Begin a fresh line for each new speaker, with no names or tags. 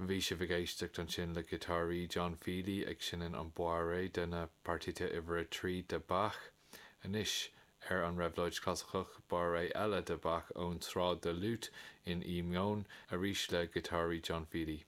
Bhí sibh ag éisteacht ansin le giotáraí John Feely ag seinm an Bourrée de na Partita uimhir 3 de Bach. Anois, ar an Réabhlóid Chlasaiceach, Bourrée eile de Bach ón Tsraith de Liúit in E meon, arís le giotáraí John Feely.